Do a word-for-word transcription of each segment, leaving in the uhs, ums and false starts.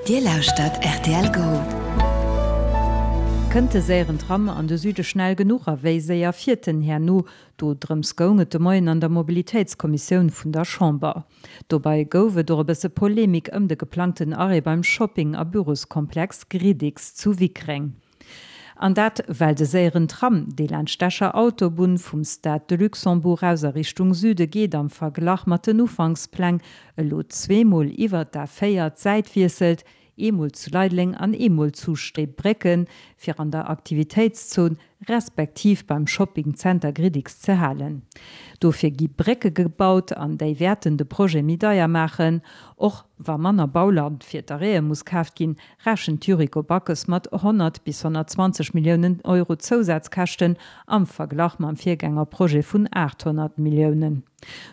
Dir lauschtert rtl Go. Kënnt de séieren Tram an de Süde schnell genuch a wéi séier fiert en herno? Do drëms goung et de Moien an der Mobilitéitskommissioun vun der Chamber. Dobäi gouf et och e bësse Polemik ëm de geplangten Arrêt beim Shopping a Büroskomplex Gridix zu Wickreng. An dat well de séieren Tram, dee laanscht d'Escher Autobunn vum Stade de Luxembourg aus a Richtung Süde geet, am Verglach mat den Ufankspläng elo zweemol iwwert d'A véier d'Säit wiesselt, eemol zu Leideleng an eemol zu Steebrécken, fir an der Aktivitéitszon respektiv beim Shopping Zenter Gridix ze halen. Dofir gi Brécke gebaut an déi wäerten de Projet méi deier maachen. Och wa manner Bauland fir d'Arrêtë muss kaaft ginn, rechent d'Yuriko Backes mat honnert bis honnertzwanzeg Milliounen Euro Zousazkäschten am Verglach mam Virgängerprojet vun aathonnert Milliounen.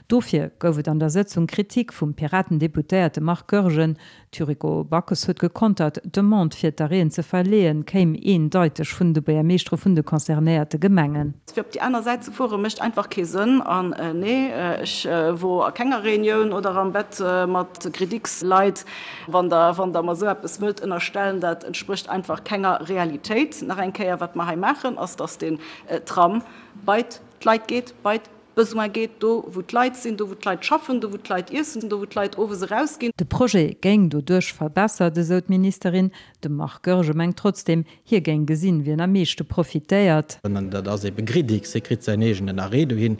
Dofir gouf et an der Sëtzung Kritik vum Piraten-Deputéierte Marc Goergen. D'Yuriko Backes huet gekontert, d'Demande fir d'Arrêten ze verleeën, kéim eendeiteg vun de Buergermeeschtere vun de concernéierte Gemengen. Fir op déi aner Säit ze fuere mécht einfach kee Sënn. An nee, ech wor a kenger Reunioun oder am Bett mat Gridix-Leit. Wann Der, wann Der mer esou eppes wëllt ënnerstellen, dat entsprécht einfach kenger Realitéit. Nach eng Kéier, wat mer hei maachen, ass, dass den Tram bei d'Leit geet, bei d'Besoin geet, do wou d'Leit sinn, do wou d'Leit schaffen, do wou d'Leit iessen, do wou d'Leit owes erausginn. De Projet géing doduerch verbessert, esou d'Ministerin. De Marc Goergen mengt trotzdeem, hie géing gesinn, wien am meeschte profitéiert. An dat ass ebe Gridix, hie kritt säin eegenen Arrêt dohin.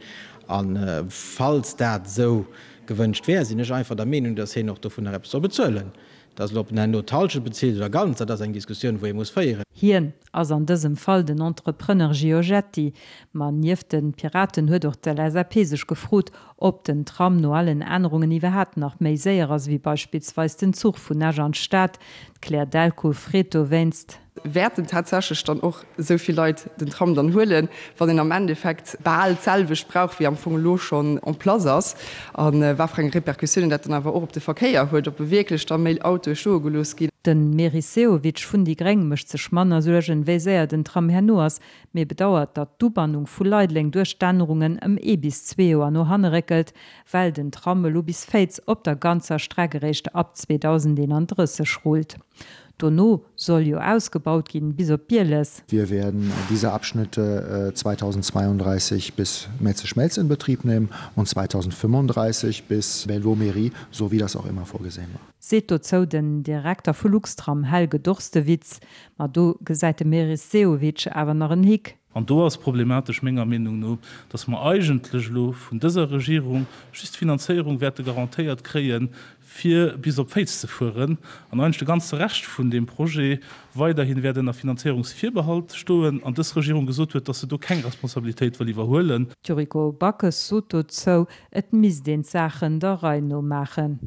A falls dat esou gewënscht wär, sinn ech einfach der Meenung, datt hien och dovunner eppes soll bezuelen. Datt elo, ob en herno d'Hallschent bezilt oder ganz, dat ass eng Diskussioun, wou ee muss féieren. Hien ass an dësem Fall den Entrepreneur Giorgetti. Ma nieft de Piraten huet och d'LSAP sech gefrot, ob den Tram no allen Ännerungen iwwerhaapt nach méi séier ass ewéi beispillsweis den Zuch vun Esch an d'Stad. D'Claire Delcourt freet dowéinst. Wäerten tatsächlech dann och esou vill Leit den Tram dann huelen, wann een am Endeffekt bal d'selwecht brauch, wéi am Fong elo schonn en place ass? A wat fir eng Repercussiounen dat dann awer och op de Verkéier huet, ob wierklech da méi Autoe stoe gelooss ginn. De Meris Sehovic vun déi Gréng mécht sech manner Suergen, wéi séier den Tram herno ass, mee bedauert, datt d'Ubannung vu Leideleng duerch d'Ännerungen ëm ee bis zwee Joer no hanne réckelt, well den Tram elo bis Féiz op der ganzer Streck eréischt ab zweedausendeenandrësseg rullt. Dono soll jo ausgebaut ginn bis op Bieles. Wir werden diese Abschnitte zweitausendzweiunddreißig bis Metze-Schmelz in Betrieb nehmen und zweitausendfünfunddreißig bis Belvaux-Mairie, so wie das auch immer vorgesehen war. Seet dozou den Direkter vu Luxtram Helge Dorstewitz. Ma do gesäit de Meris Sehovic awer nach en Hick. An do ass problematesch menger Meenung no, dass mer eigentlech elo vun dëser Regierung just d'Finanzéierung wäerte garantéiert kréien, fir bis op Féiz ze fueren, an eigentlech de ganze Rescht vun deem Projet weiderhi wäert ënner Finanzéierungsvirbehalt stoen, an dës Regierung gesot huet, dass se do keng Responsabilitéit wëll iwwerhuelen. D'Yuriko Backes sot dozou, et misst een d'Saachen der Rei no maachen.